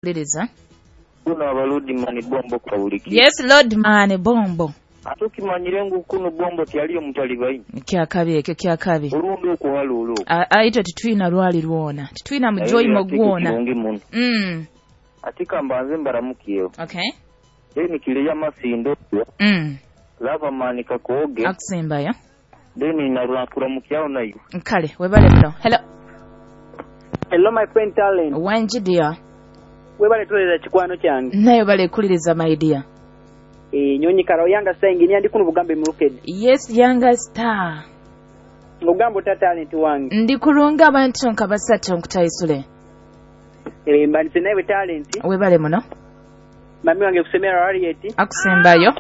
Liriza. Kuno abaludimani bombo kawuliki. Yes, Lord man bombo. Ate okimanyire ngu kuno bombo tyaliyo mutalibaini. Kyakabi ekyo kyakabi. Olumbe okuhaluula okwo. Aitwe titwina lwali lwona. Titwina mujoyimo gwona. Kirungi muno. Ati kambanze mbaramukyeho. Okay. Then kireya masindo. Lava mani kakooge. Akusimbayo. Then narurakuramukyao nayo. Kale webale muno. Hello. Hello my friend Talent. Wanji dear. Webale tuleza kikwano kyange. Nayo bale kuliriza my dear. Nyonyi karo yanga star engineer ndi kuno bugambe mulukedi. Yes, yanga star. Ngugamba ota talent wange. Ndi kulunga abantu nka basatu nkutaisule. Mbanise nawe talent. Webale muno. Mami wange kusemera Harriet. Akusembayo.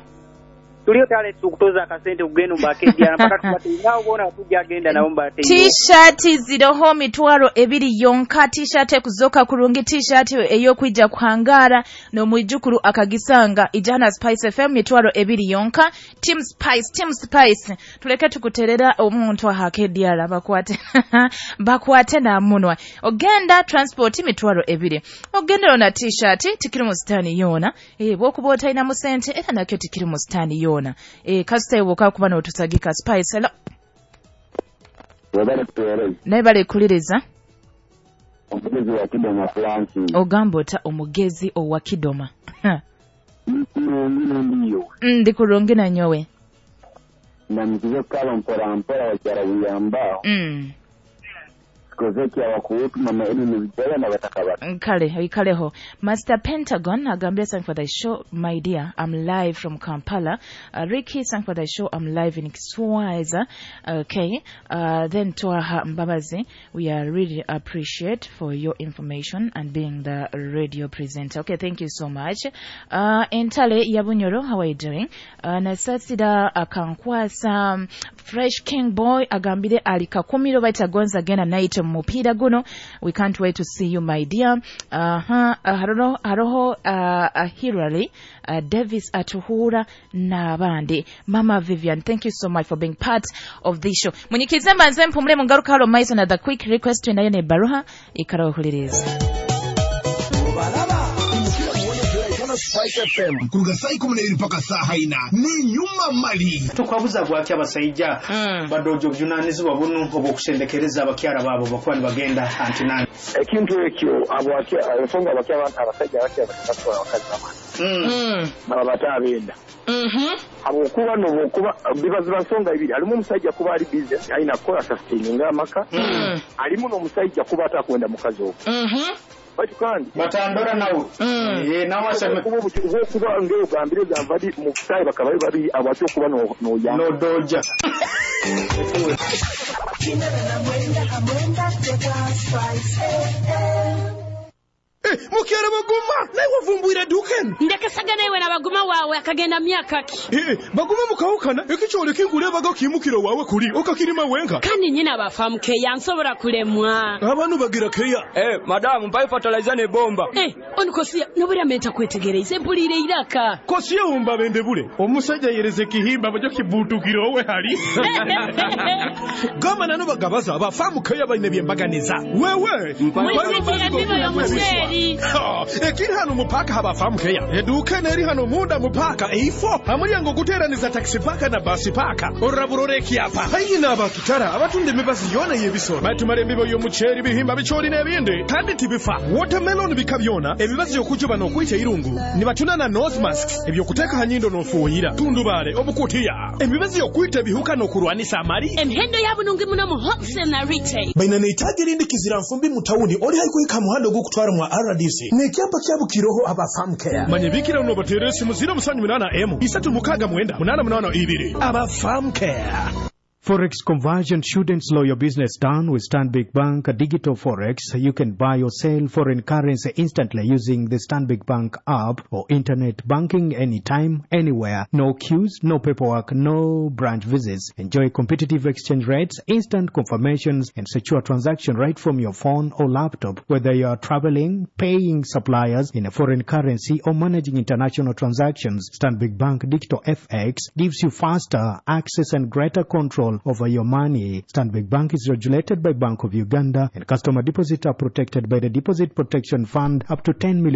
Tulio talent okutoza akasente kugenda mbakedia mpaka tubate nawo bona tujja agenda nabo mbate. T-shirt ziroho 20,000 yonka. T-shirt ekuzoka kurungi, t-shirt ey'okwija kuhangara n'omwijukuru akagisanga ijana Spice FM 20,000 yonka. Team Spice, Team Spice. Tuleke tukuterera omuntu ahakedia bakwate bakwate na munwa. Ogenda transport 20,000. Ogenda na t-shirt tikiri mu stani yona. Bwokuba otalina mu sente era nakyo tikiri mu stani yona. Kasita iwoka kuba n'otusagika Spice. Hello. Naye bale kuliriza. Omugezi wa Kidoma Francis. Ogamba ota omugezi owa Kidoma. Ndiyo. Ndi kulungi na nyowe. Na mkizo kala mpora mpora wakyara buyamba. Kozeki abakuutu mama eni nibijaya na batakabaka. Kale, ikaleho. Master Pentagon agambye thank for the show my dear. I'm live from Kampala. Ricky, thank for the show. I'm live in Kiswaza. Okay. Then Twaha Mbabazi, we are really appreciate for your information and being the radio presenter. Okay, thank you so much. Entale Yabunyoro, how are you doing? Nasasida akankwasa Fresh King Boy agambire alikakumiro baitagonza gena night mupira guno. We can't wait to see you my dear. Haroho Hirali Davis Atuhura n'abandi. Mama Vivian, thank you so much for being part of this show. Munyikize mbanze mpumule mungaruka halo maiso na the quick request nayo ne baruha ikarohuliriza. Spice FM kuruga saa 12 mpaka saa 4 ni nyuma mali tukwabuza gwaki abasajja badojo bujunanizibwa buno obwokusendekereza abakyala baabo bakuba nibagenda antinani ekintu ekyo ensonga abasajja abakyala abakazi bamala baba batabenda habwokuba nobwokuba bibaziba nsonga ibiri alimu omusajja kuba ali busy alina kukola sustaininga amaka alimu n'omusajja kuba atakwenda mukazi ogwo bati kandi batandora nawe nawe aseme kuba ng'ogambire gamba mu kusaayi bakaba babiri abaki okuba n'oyamba n'odoja. Mukyala Baguma naye wavumbwira dduka eno. Ndekesaga nawe na Baguma wawe akagenda myaka ki. Baguma mukawukana ekikyole kingulebaga okimukiro wawe kuli okakirima wenka. Kandi nyina bafamu keya nsobola kulemwa. Abantu bagira keya. Madamu mpa fertilizer ne bomba. Onikosia nobura menta kwetegereza mpulire iraka. Kosiya wumba bende bule. Omusajja yereze kihimba bajo kibutukiro we hali. Gama nano bagabaza abafamu keya balina byembaganiza. Wewe ekiri hano mupaka habafamu keya eduka neri hano munda mupaka eifo amulyango guteraniza taxi paka na basi paka oraburore kyapa hayina abakitara abatunda emibazi yona y'ebisoro batumara embibo y'omuceeri bihimba bichori n'ebindi kandi tibifa watermelon bika byona ebibazi okujuba n'okwita irungu nibatuna na nose masks ebyokuteeka hanyindo n'ofuuyira tundubale obukutiya emibazi y'okwita ebihuka n'okurwanisa amali emihendo yabunungi muno mu wholesale na retail baina neitaji erindi kizira nfumbi mu tawuni oli haikuhika muhando ogw'okutwara mwa RDC n'ekyapa kyabukiroho abafamu care manyebikira unobateera esimu 078 M 369 882 abafamu care. Forex conversion shouldn't slow your business down. With Stanbic Bank Digital Forex, you can buy or sell foreign currency instantly using the Stanbic Bank app or internet banking anytime, anywhere. No queues, no paperwork, no branch visits. Enjoy competitive exchange rates, instant confirmations, and secure transaction right from your phone or laptop. Whether you are traveling, paying suppliers in a foreign currency, or managing international transactions, Stanbic Bank Digital FX gives you faster access and greater control over your money. Stanbic Bank is regulated by Bank of Uganda, and customer deposits are protected by the Deposit Protection Fund up to 10 million.